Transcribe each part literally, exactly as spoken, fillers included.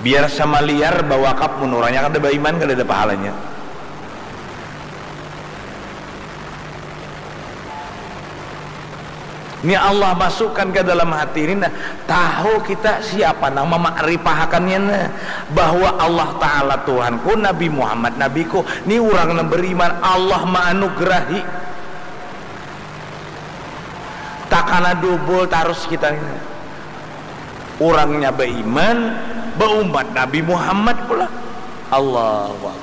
Biar sama liar bawakap, mun urangnya kada baiman, kadada pahalanya. Ni Allah masukkan ka dalam hati ni, nah, tahu kita siapa nang mamakrifahkannya, nah, bahwa Allah Ta'ala Tuhanku, Nabi Muhammad Nabiku, ni urang nang beriman, Allah maanugerahi. Takana dubul tarus kita ni, nah. Urangnya baiman, baumat Nabi Muhammad pula. Allahu Akbar.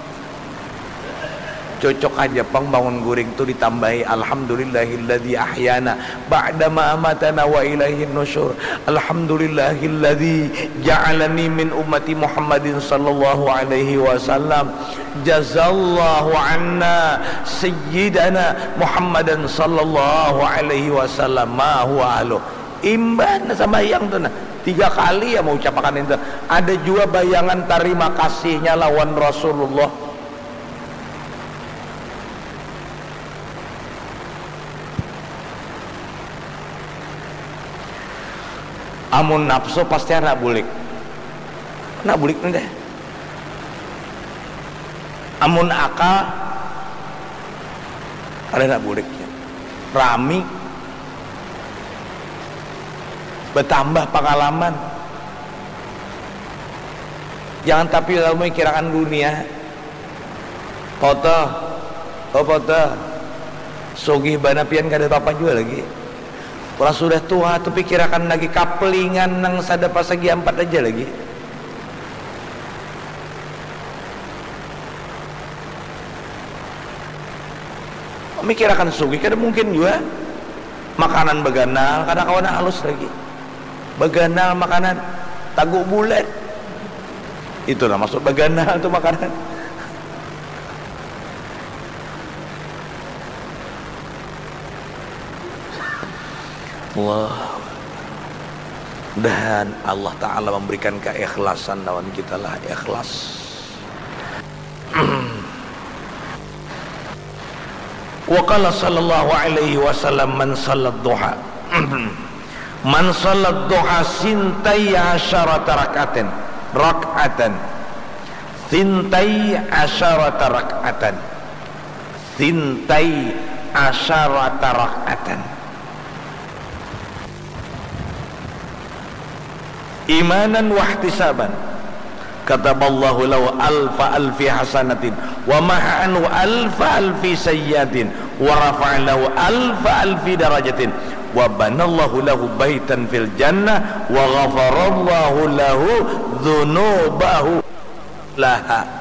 Cocok haja pang bangun guring tu ditambahi, "Alhamdulillahilladzi ahyana ba'dama amatana wa ilaihin nusyur. Alhamdulillahilladzi ja'alani min ummati Muhammadin sallallahu alaihi wasallam. Jazallahu anna sayyidana Muhammadan sallallahu alaihi wasallam ma huwa ahluh." Imbah nah sambahyang tu nah, tiga kali ya maucapakan itu. Ada jua bayangan tarima kasihnya lawan Rasulullah. Amun nafsu pasti handak bulik. Handak bulik ni deh. Amun akal, kada handak bulik. Rami. Batambah pangalaman. Jangan tapi lalu mikirakan dunia. Foto, oh foto. Sugih banar pian, kada apa-apa jua lagi. Urang sudah tuha tu pikirakan lagi kapelingan nang sada pasagi ampat aja lagi. Mikirakan sugih kada mungkin jua. Makanan baganal, kada kawa nang halus lagi. Baganal makanan, tagu bulat. Itu nah maksud baganal tu makanan. Allah. Mudahan Allah Ta'ala memberikan keikhlasan lawan kita lah, ikhlas. Wa qala sallallahu alaihi wasallam, "Man sallat duha, man sallat duha sintai asyarata rak'atin, rak'atan, sintai asyarata rak'atan, sintai asyarata rak'atan." Imanan wahtisaban, kataballahu lahu alfa alfi hasanatin, wa maha anhu alfa alfi sayyiatin, wa rafa'a lahu alfa alfi darajatin, wa banallahu lahu baitan fil jannah, wa ghafarallahu lahu dzunubahu laha.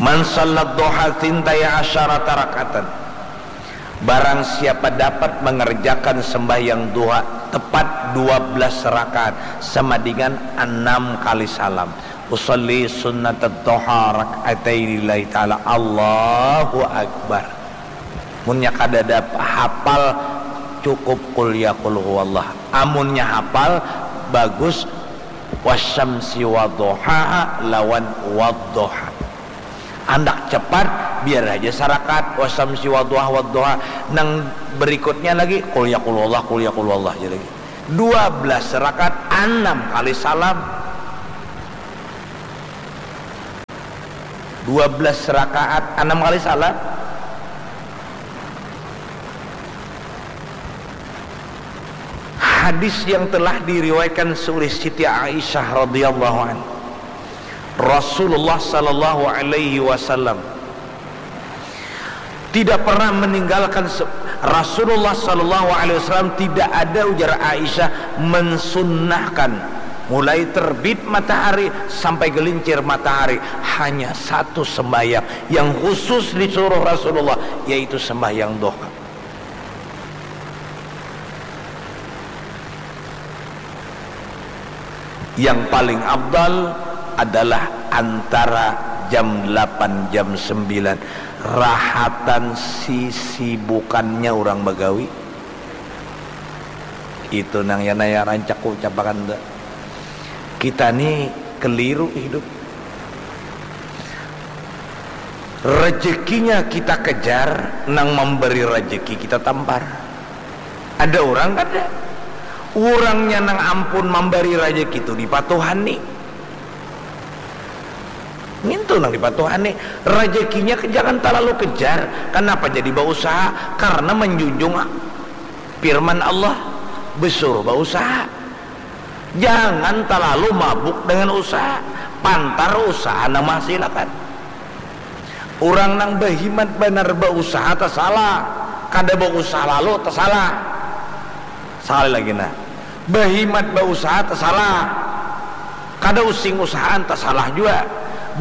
Man sallat duha tsintai asyarata rak'atan. Barang siapa dapat mengerjakan sembahyang duha tepat dua belas rakaat sama dengan enam kali salam. Usalli sunnatat duha rak'ataini lillahi ta'ala. Allahu Akbar. Munnya kadada hapal, cukup qul ya qul huwallah. Amunnya hapal, bagus wasyamsi wadhuhaha lawan wadhuha. Handak cepat, biar haja sarakat wasyamsi wadhuha wadhuha. Nang berikutnya lagi qul ya qul huwallah, qul ya qul huwallah aja lagi. Dua belas rakaat, anam kali salam. Dua belas rakaat, anam kali salam. Hadis yang telah diriwayatkan oleh Siti Aisyah radhiyallahu anha, Rasulullah sallallahu alaihi wasallam tidak pernah meninggalkan se-, Rasulullah sallallahu alaihi wasallam tidak ada, ujar Aisyah, mensunnahkan mulai terbit matahari sampai gelincir matahari hanya satu sembahyang yang khusus disuruh Rasulullah, yaitu sembahyang duha. Yang paling afdal adalah antara jam delapan, jam sembilan. Rahatan sisibukannya urang bagawi. Itu nang ya naya rancak ku ucapakan tu. Kita ni keliru hidup. Rejekinya kita kejar, nang mambari rejeki kita tampar. Ada urang kada? Urangnya nang ampun mambari rejeki tu dipatuhani. Ngintu nang dipatuhani. Rejekinya ke-, jangan talalu kejar. Kanapa jadi bausaha? Karena manjunjung firman Allah, besuruh bausaha. Jangan talalu mabuk dengan usaha. Pantar usaha nang mahasilakan. Urang nang bahimat banar bausaha tasalah, kada bausaha lalu tasalah. Sakali lagi nah, bahimat bausaha tasalah, kada using usahaan tasalah jua.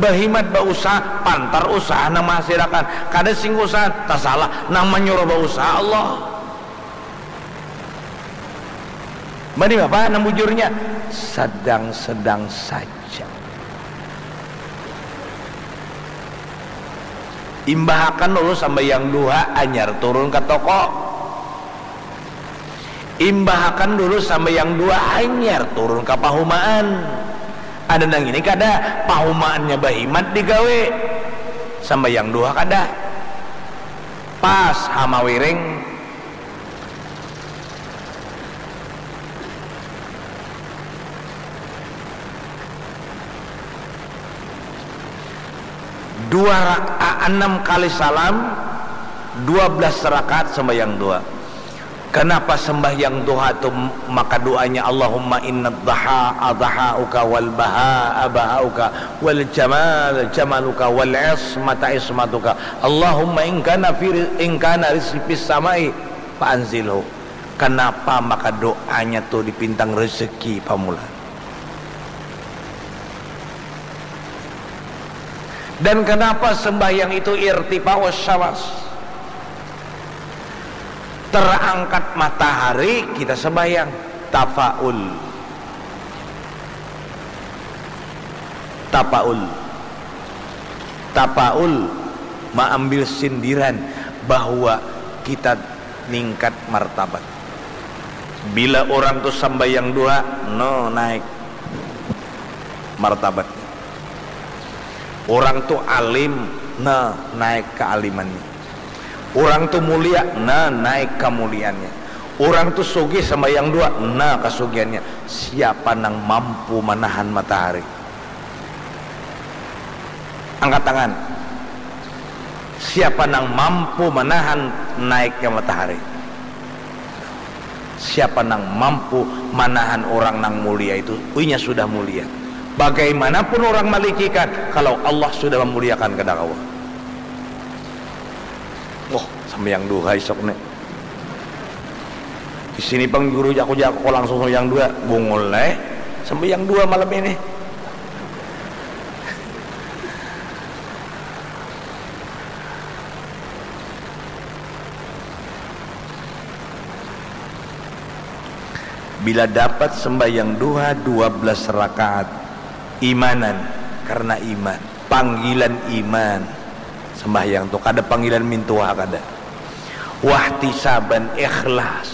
Bahimat bausaha, pantar usaha nang mahasilakan, kada sing usahaan tasalah, nang manyuruh bausaha Allah. Mani bapa nang bujurnya, sedang-sedang saja. Imbahakan dulu sambayang duha, anyar turun ka toko. Imbahakan dulu sambayang duha, anyar turun ka pahumaan. Ada nang ini kada, pahumaannya bahimat digawe, sambayang duha kada. Pas hamawiring, dua rakaat, enam kali salam, dua belas rakaat sembahyang duha. Kenapa sembahyang duha tu maka doanya Allahumma inna dhaha adhauka wal baha bahauka wal jamal jamaluka wal ismata ismatuka. Allahumma ingkana fir ingkana rizqi fis samai fa anzilhu. Kenapa maka doanya tu dipintang rezeki pamula? Dan kenapa sembahyang itu irtifa'us syams? Terangkat matahari kita sembahyang. Tafaul. Tapaul. Tapaul maambil sindiran bahwa kita ningkat martabat. Bila orang tu sambayang duha, no naik martabatnya. Orang tu alim, nah naik kealimannya. Orang tu mulia, nah naik kemuliaannya. Orang tu sugih sambayang duha, nah kesugihannya. Siapa nang mampu manahan matahari? Angkat tangan. Siapa nang mampu manahan naiknya matahari? Siapa nang mampu manahan orang nang mulia itu, inya sudah mulia. Bagaimanapun orang malicikkan, kalau Allah sudah memuliakan kada kawa. Wah, sambayang duha isuk ni. Di sini pang guru jaku-jaku langsung sambayang duha, bungul lah eh. Sambayang duha malam ini. Bila dapat sembahyang duha dua belas rakaat, imanan, karena iman, panggilan iman, sembahyang tu kada panggilan mintuha kada, wahtisaban, ikhlas,